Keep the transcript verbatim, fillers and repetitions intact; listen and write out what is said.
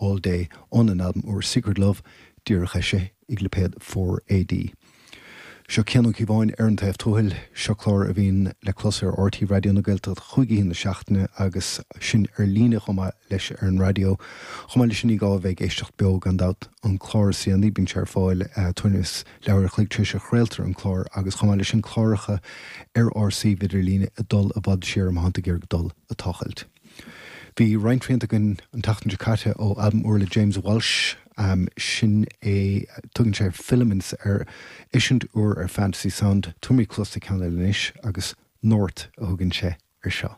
All Day ón an albam úr Secret Love díreach eisithe ag lipéad four AD. Seo Cian Ó Cíobháin ar an taobh tuathail, seo clár a bhíonn le clos ar RTÉ Raidió na Gaeltachta chúig oíche na seachtaine agus sin ar líne chomh maith leis ar an raidió. Chomh maith leis sin ní gá a bheith ag éisteacht beo gan dabht an clár is déanaí bíonn sé ar fáil tuairim is leathuair a chloig tar éis a chraoltar an clár agus chomh maith leis sin cláracha ar ár suíomh idirlíne ag dul i bhfad siar má thánn tú ag iarraidh dul ag tochailt. Bhí roinnt rianta againn an tseachtain seo caite ó albam úr le James Walsh, um, sin é tugann sé Filaments ar eisiúint úr ar Fantasy Sound, tabharfaimid cluas do cheann eile anois agus North a thugann sé ar seo.